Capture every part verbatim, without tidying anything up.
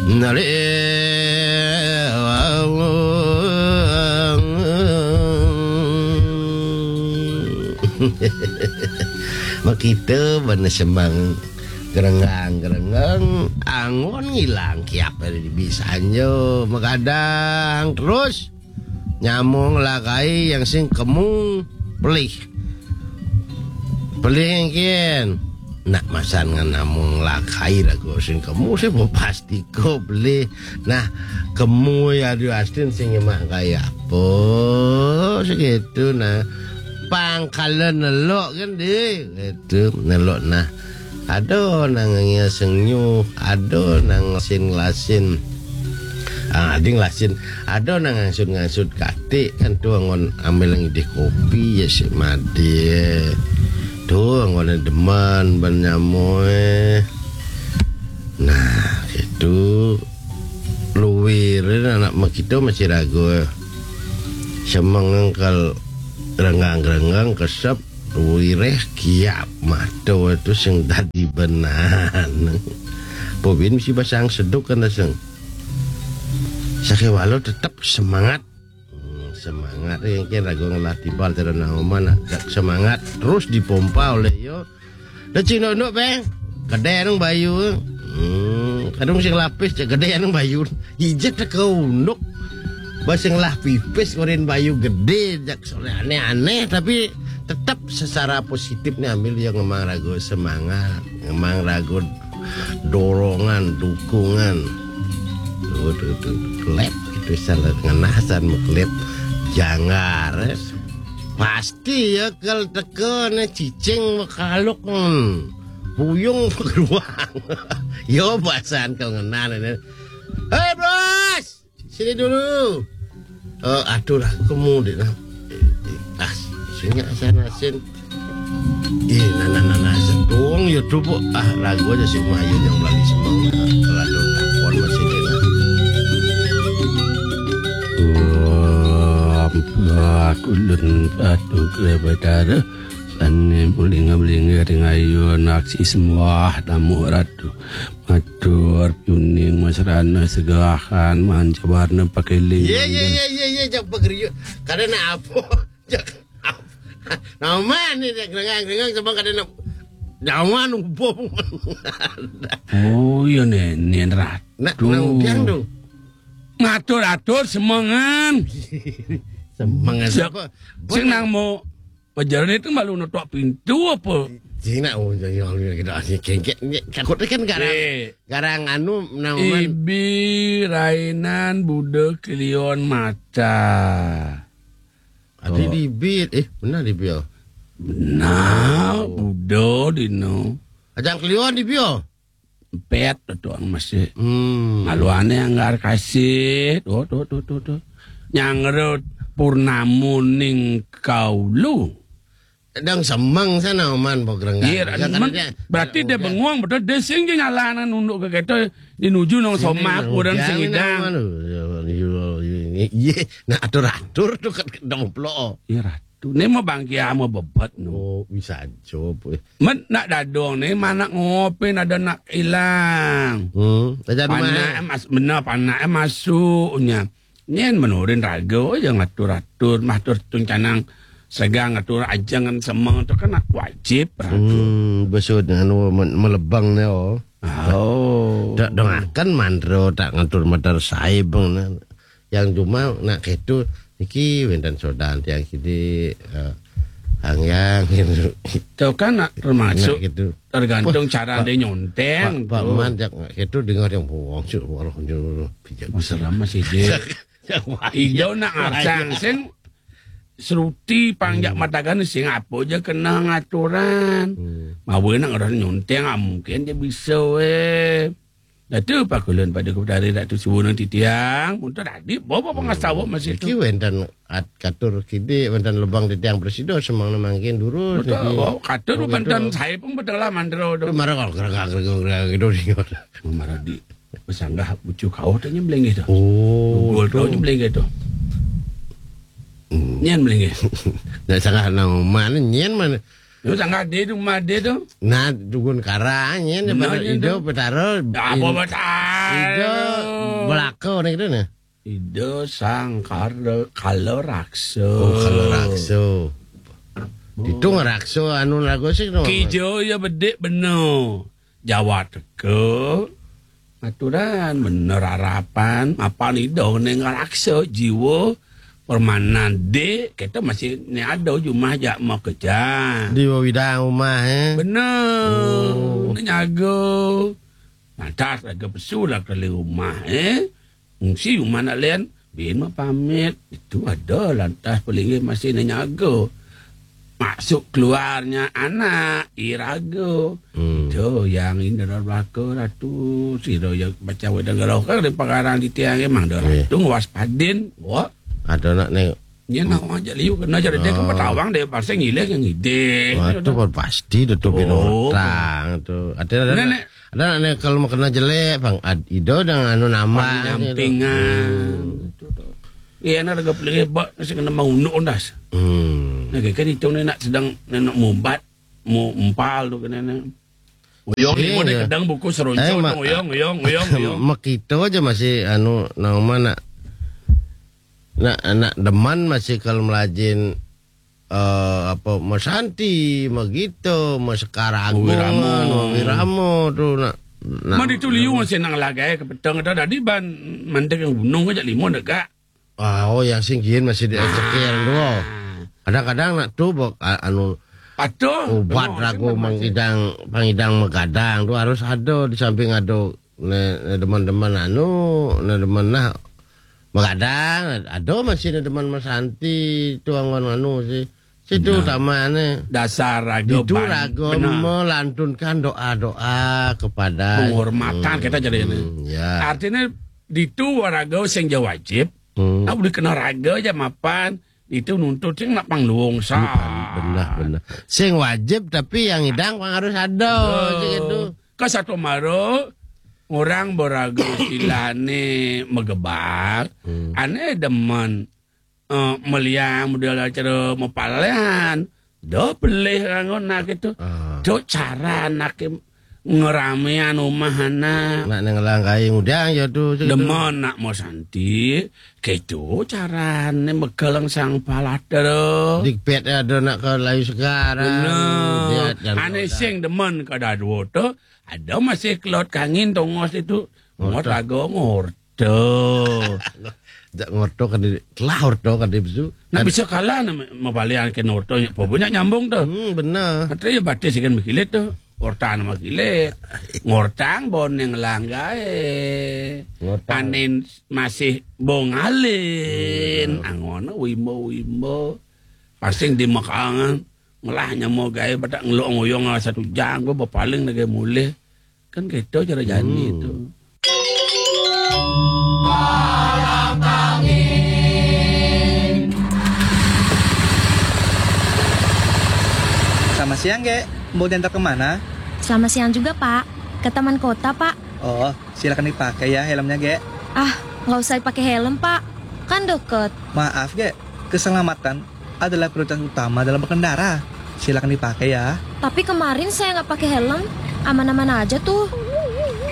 Nari. Makita bana semang gerenggang-gerenggang, angon ngilang kiap dari bisanjo, magadang terus nyamong lakai yang sing kemu pelih. Pelih engkin. Nak masan ngan nyamong lakai rago sing kemu sih, pasti ko pelih. Nah, kemu ya di astin sing emang kaya apa segitu nah. Pangkalan nelok kan deh, gitu, nelok nah. Ada nang ngaseng nyuh, ada nang ngasin ngelasin. Ah, adi ngelasin, ada nang ngangsut-ngangsut katik kan tu anggon ambil ngidih kopi ya si madi. Tu anggon demen ban nyamoi. Nah, itu luwir anak makita masih ragu. Semeng engkal renggang-renggang kesep wireh kiap mata tu sing dadi benan. Pobin mesti basang seduk kan sing. Sakewala tetep semangat. Hmm, semangat yang kira ragu ngelah tibal cara nama nak semangat terus dipompa oleh yo. Dah cing nduk-nduk, Bang. Gede nang bayu. Hmm, kadung sing lapis cek gede nang bayu. Ijek teka unduk. Bah sing lah pipis ngorin bayu gede jak sore aneh-aneh tapi tetap secara positif nih ambil yang ngemang ragu semangat, ngemang ragu dorongan, dukungan. Tuh, tuh, tuh, klep itu salah ngenasan klep janggar. Eh. Pas Ki ya kal teka ne cicing makaluk, hmm. Buyung begeruang. Yo bahasan kau ngenal ne. Hei bos, sini dulu. Oh, aduh lah, kemu dek nah. Ah, sini asan asin. Ih, nana nana sedung ya tuh ah lagu aja si Mayu yang lagi semang kalau ada takon masih dek nah. Wah, ulun patuh ke Batara. Sane mulinga-mulinga ring ayun aksi sembah tamu ratu. Matur piuning masrana segahan mancawarna pakeling. Iya, iya, iya, iya, iya, jak pageriuk. Kada nak apa? Jak apa? Nama ni jak rengang-rengang sebang kada nak nyaman ubung. Oh, iya, nen, nen ratu. Nak nang udiang tu. Ngatur-atur semengan. Semengan siapa? Sing nang mau pajaran itu malu nutup pintu apa? Cina, oh, jangan kita asli kengkek. Takut kan garang, eh, garang anu naman. Ibi, Rainan, Buda, Kelion, Mata. Ada di bit, eh, benar di bit. Benar, oh. Buda dino. Ajang Kelion di bit. Pet tuang masih. Hmm. Maluane anggar kasih. Tuh, tuh, tuh, tuh, tuh. Nyangre purnamuning kaulu. Dang semeng sana oman pogrenggan. Iya, berarti dia bengong betul dia sing ngalanan unduk ke kita di nuju nang somak orang sing idang. Iya, nah atur-atur tuh kan domplok. Iya, ratu. Ini mau bangkia mau bebet no. Oh, bisa aja. Men nak dadong ni mana ngopi ada nak ilang. Hmm, aja rumah. Panak mas benar panak masuknya. Nyen menurin raga aja ngatur-atur, matur tuncanang segang ngatur ajangan semeng tu kan wajib raga. Hmm, besud anu melebang ni oh. Oh. Tak dengarkan mandro tak ngatur madar saibeng ni. Yang cuma nak ketu iki wenten sodan tiang kidi eh, hangyang gitu. Itu kan nak termasuk gitu. Tergantung cara dia nyonteng. Pak Man jak itu dengar yang bohong sih walau nyuruh pijak. Masalah masih dia. Ijo nak ngarang sing seruti pangjak matakan sing apa aja kena ngaturan. Mawe nak ngarang nyonteng ah, mungkin dia bisa weh. Datu pakulun pada kepedari Datu Suwunang titiang, muntun tadi bawa pengasawa masih iki tu. Wenten at katur kidi wenten lebang titiang presido semang mangkin durus. Betul. Oh, katur wenten saya pun betul lah mandro tu. Marah kalau gerak gerak gerak gitu di. Marah di pesanggah bucu kau tanya belengge tu. Oh, gol tu nya belengge tu. Nyen belengge. Nak sanggah nang mana nyen mana. Yo, sangkar di tu, umah di tu. Nah, dugun karang, ya, ni. Nah, pada ya, Ida tu. Betara, apa in-, betara? Ida belaka ni kita ni. Ida Sangkara Kala Raksa. Oh, Kala Raksa. Oh. Itu ngeraksa anu lagu sih, no? Kija ya bedik bena. Jawa teka. Aturan bener harapan, mapan Ida ni ngeraksa jiwa permanan dik, kita masih ni ada jumah jak mau kerja. Di bawah widang rumah, eh? Bener. Oh. Ni nyaga. Lantas laga pesu lah keli rumah, eh? Fungsi rumah nak len, bin mah pamit. Itu ada lantas pelinggih masih ni nyaga. Masuk keluarnya anak, iraga. Hmm. Tu yang indra belaka ratu, sira yang macam wedang geroh kan di pengarang di tiang emang dah. Iya. Ratu ngewaspadin, wah. Ada nak ni. Nya nak aja liu kena jadi dia kan petawang dia pasal ngilih yang ngidih. Wah, tu pun pasti tu, tu bin orang tu. Ada, ada, nak, nak. Ada nak ni kalau mau kena jelek, bang, ad-, Ida dengan anu nama. Pang nyampingan. Hmm. Itu tu. Iya, nak laga pelih bak, nasi kena mau unduk undas. Hmm. Nah, kan itu ni nak sedang, nak mubat, mau empal tu kena ni. Uyong ni, mau dia kedang buku seronco, eh, ma-, uyong, uyong, uyong, uyong. Mak kita aja masih anu, nama nak, nak, nak deman masih kalau melajin, eh, apa, Masanti, Magita, Masekar Agung, Wirama. Wirama tu nak, nak. Man itu liu masih nang lagai ke petang ada tadi ban mandek yang gunung aja lima negak. Ah, oh, yang singgihin masih di cekir tu. Kadang-kadang nak tu bok, a-, anu, patuh. Ubat ragu mengidang, pengidang megadang tu harus ada di samping ada ne, ne demen-demen anu, ne demen nah megadang, ada masih ne demen Masanti tu anggon anu sih. Situ utamanya. Dasar raga itu ban-, raga benar. Melantunkan doa-doa kepada penghormatan kita jadi ini. Hmm, ya. Artinya ditu raga sing ja wajib. Hmm. Nak boleh kena raga aja mapan. Itu nuntut sing nak pangluung sah. Hmm, benar, benar. Sing wajib tapi yang idang pang harus ada. Betul. Gitu. Ke satu mara orang beraga istilahnya megebak. Hmm. Ane demen, eh, meliang model acara mepalehan. Dah pelih rangon nak itu. Ah. Tu cara nak ngeramean rumah anak. Nak nang langkai ngudang ya tu, situ. Demen nak mau santi, gitu carane mekeleng sang palater. Dikpet ada nak ke layu sekarang. Bener. Ane sing demen ke dadua tu, ada masih kelot kangin tongos itu. Ngot lagu ngorto. Jak ngorto kan di, telah orto kan di besu. Nak bisa kalah nak mapalian ke ngorto, apa banyak nyambung tu. Hmm, benar. Kata ya batis ikan berkilit tu. Orta nama kilit. Ngortang boneng langgai. Ngortang. Anin masih bongalin. Hmm. Angon wimbo-wimbo. Pasing di makangan. Ngelah nyamo gae badak ngelok ngoyong satu jam gua berpaling lagi mulih. Kan gitu cara jani itu. Selamat siang, Gek. Mau diantar kemana? Selamat siang juga, Pak. Ke Taman Kota, Pak. Oh, silakan dipakai ya helmnya, Gek. Ah, nggak usah dipakai helm, Pak. Kan deket. Maaf, Gek. Keselamatan adalah prioritas utama dalam berkendara. Silakan dipakai ya. Tapi kemarin saya nggak pakai helm, aman-aman aja tuh.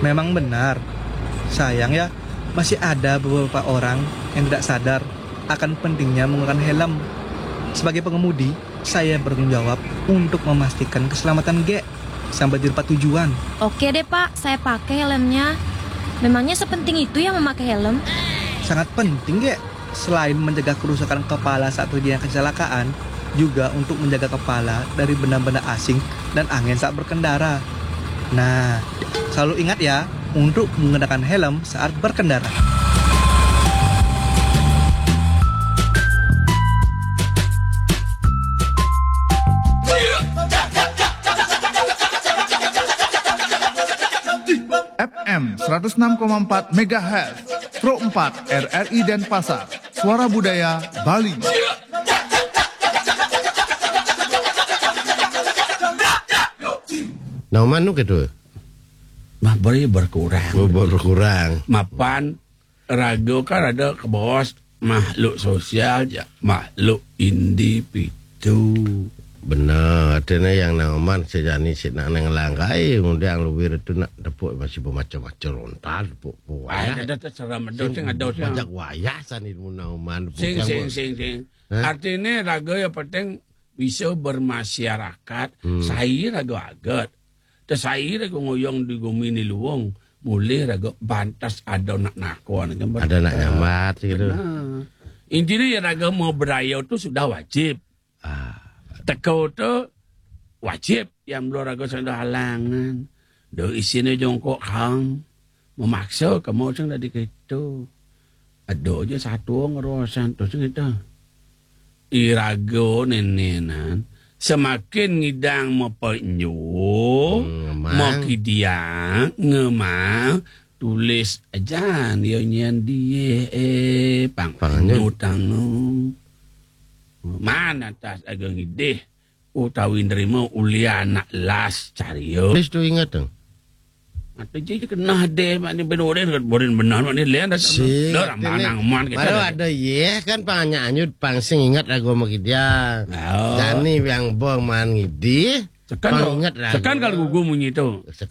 Memang benar. Sayang ya, masih ada beberapa orang yang tidak sadar akan pentingnya menggunakan helm. Sebagai pengemudi, saya bertanggung jawab untuk memastikan keselamatan Gek sampai di tempat tujuan. Oke deh, Pak, saya pakai helmnya. Memangnya sepenting itu ya memakai helm? Sangat penting, Gek. Selain menjaga kerusakan kepala saat terjadi kecelakaan, juga untuk menjaga kepala dari benda-benda asing dan angin saat berkendara. Nah, selalu ingat ya, untuk mengenakan helm saat berkendara. F M seratus enam koma empat megahertz, Pro empat R R I Denpasar, Suara Budaya Bali. Nah, manuk itu? Mah beri berkurang. Oh, berkurang. Mapan raga kan ada ke bawah makhluk sosial, ya, makhluk individu. Bener, artinya yang nang oman sejani si nak nang langgai, kemudian luwir itu nak tepuk masih bermacam-macam lontar tepuk buah. Ada terserah medo sing ada sing. Banyak wayah sani mun nang oman. Sing sing sing sing. Artinya raga yang penting bisa bermasyarakat, hmm. Sai raga agat. Tesai raga ngoyong di gumi ni luwung, mulih raga bantas ada nak nakon. Ada nak nyambat gitu. Nah. Intinya ya raga mau berayau tu sudah wajib. Ah. Teko tu wajib yang belum raga sing ada halangan. Do isine jongkok hang memaksa kamu sing dari kito. Ada aja satu ngerosan tu sing kita. Iraga nenenan semakin ngidang mapenyo, hmm, makidiang, ngemang, tulis aja dia nyen die eh pang panyo tangu. Mana tas aga ngidih utawi nerima ulian anak las cario. Wis tu ingat tu. Atau je kena deh mak ni benoren kat borin benar mak ni lian dah. Sik, dah ramah nang man kita. Baru ada ye kan pang anyut pang sing ingat lagu sama dia. Oh. Jani yang bong man ngidi. Sekan pang ingat lagu. Sekan kalau gugu munyi tu.